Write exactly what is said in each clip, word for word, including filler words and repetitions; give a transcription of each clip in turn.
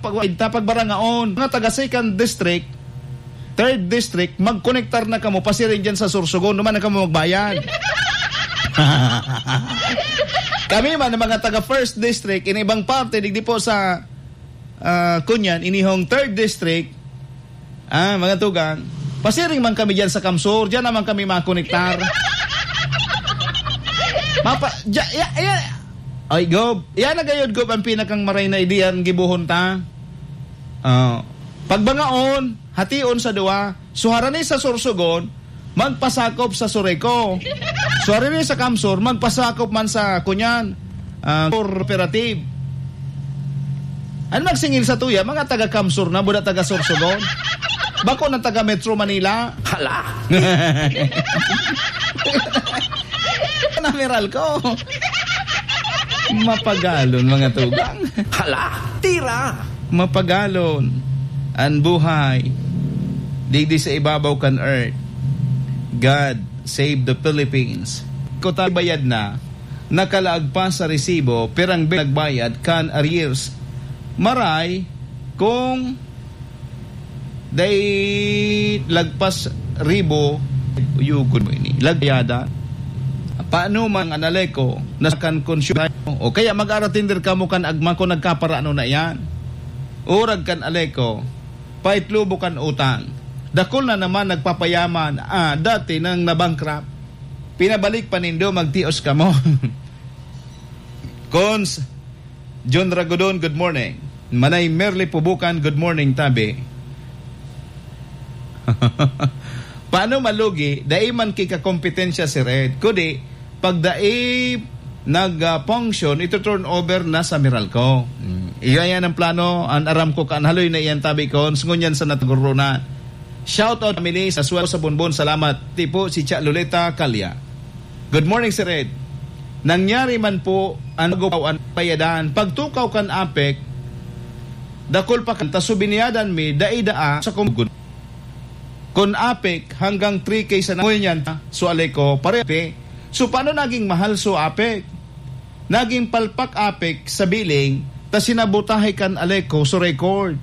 pag, ta pagbarangaon. Mga taga second district, third district, magkonektar na kamo, pasiring dyan sa Sorsogon, naman na kamo magbayad. Kami man, ang mga taga first district, in ibang parte, digdi po sa, ah, kunyan, inihong third district, ah, mga tugang, pasiring man kami dyan sa Kamsur, dyan naman kami makonektar. Mapa, dya, ya, ya, ay, Gob, yan na gayod, Gob, ang pinakang maray na ideya ang gibuhon ta. Ah, pagbangaon, hation sa duwa. So, harani sa Sorsogon, magpasakop sa Soreco. So, harani sa Kamsur, magpasakop man sa, kunyan, ah, cooperative. Ano magsingil sa tuya? Mga taga Kamsur na, buda taga Sorsogon. Bako na taga Metro Manila. Hala! Namiral ko. Mapagalon, mga tugang. Hala, tira! Mapagalon an buhay digdi sa ibabaw kan earth. God save the Philippines. Kota bayad na, nakalaag pa sa resibo, pirang bi-, nagbayad kan arrears. Maray, kung Dai lagpas ribo, uyugon mo ini. Lagyada. Paano man ang Aleco na kan consumer? O kaya mag-aratender kamo kan agma kung nagkaparano na iyan. Urag kan Aleco, paitlubo kan utang. Dakul na naman nagpapayaman, ah, dati nang nabankrupt. Pinabalik pa nindo, magtios kamo. Cons, John Ragodon, good morning. Manay Merly Pubukan, good morning, tabi. Paano malugi? Dai man ki kakompetensya si Red. Kudi, pag dai nag, ah, function, ito turn over na sa Meralco. Hmm. Iya yan ang plano. An aram ko, kan haloy na iyan, tabi ko, ngunyan sa natugurunan. Shout out, family, sa Suwelo sa Bonbon. Salamat. Tipo, si Cha Loleta Calya. Good morning, Sir Ed. Nangyari man po an magupaw an payadan. Pagtukaw kan APEC, dakul pa kan ta subiniyadan mi, dai daa sa kumugon. Kun APEC, hanggang three K sa nangoy niyan ta, so Aleco, parepe. So, paano naging mahal so APEC? Naging palpak APEC sa billing, ta sinabotahe kan Aleco so record.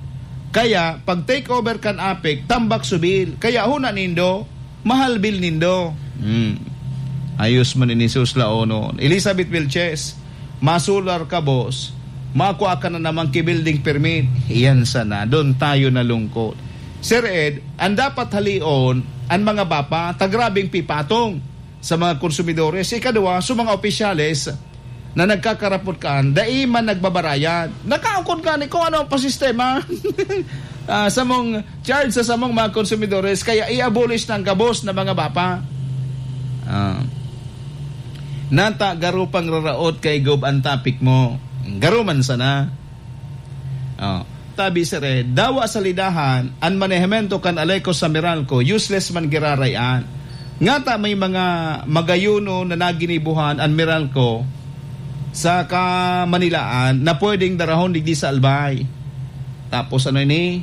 Kaya, pag take over kan APEC, tambak so bill. Kaya huna nindo, mahal bill nindo. Hmm. Ayos man ini, sus, laonon. Elizabeth Vilches, masular ka, boss. Makua ka na naman ki building permit. Iyan sana. Doon tayo nalungkot. Sir Ed, ang dapat halion, ang mga bapa, ta grabeng pipatong sa mga konsumidores. Ikadua, sa mga opisyales na nagkakarapot kaan, dai man nagbabarayad. Nakaukod gani kung ano ang pasistema, ah, samong charge sa samong mga konsumidores, kaya i-abolish na ang gabos na mga bapa. Ah. Nata, garo pang raraot kay Gob ang topic mo. Garo man sana. Oh. Tabi, sir, eh, dawa sa lidahan, an manehemento kan Aleco sa Meralco, useless man giraray an. Ngata may mga magayuno na naginibuhan an Meralco sa Kamanilaan na pwedeng darahon digdi sa Albay. Tapos ano ini?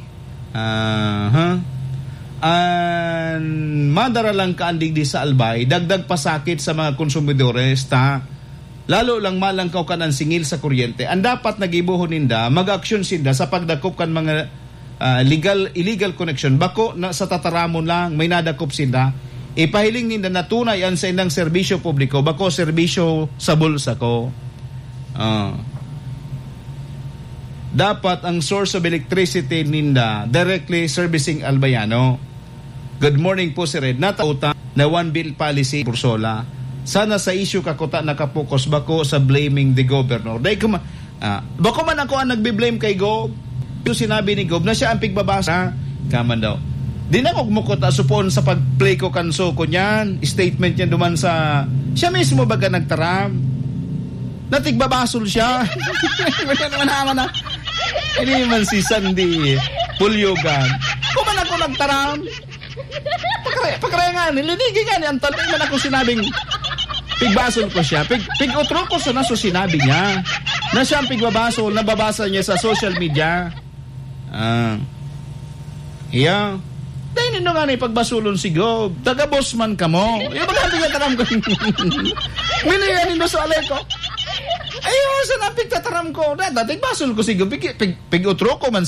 Aha. An madara lang kaan digdi sa Albay, dagdag pasakit sa mga konsumidores, ta lalo lang malangkaw kan an singil sa kuryente. Ang dapat na gibohon ninda, mag-aksyon sinda sa pagdakop kan mga, ah, legal, illegal connection. Bako na sa tataramon lang, may nadakop sinda. Ipahiling ninda na tunay an saindang serbisyo publiko, bako serbisyo sa bulsa ko. Ah. Dapat ang source of electricity ninda directly servicing Albayano. Good morning po, Sir Ed. Natauta na one bill policy, Pursola. Sana sa issue ka kuta nakapokus, bako sa blaming the governor. Dahil kuma, ah, bako man ako ang nagbe-blame kay Gob. Yung sinabi ni Gob na siya ang pigbabasa. Kaman daw. Di na kog mukuta supon sa pag-play ko kan suko niyan. Statement niya duman sa, siya mismo baga nagtaram. Natigbabasol siya. Wala naman naman na. Hindi man si Sandy Pulyogan. Kung man ako nagtaram, pakare-, pakare nga, nilinigi nga ni Anton. Di man ako sinabing pigbasol ko siya. Pig, pig-utro ko sa naso sinabi niya. Na siya ang pigbabasol, nababasa niya sa social media. Ah. Iya. Dahil nindo nga na ipagbasulon si Gob. Taga-boss man kamo. Yung mga pigtataram ko. Minaya nindo sa alay ko. Ayun, sa napigtataram ko. Da-, dati basol ko si Gob. Pig, pig, pig-utro ko man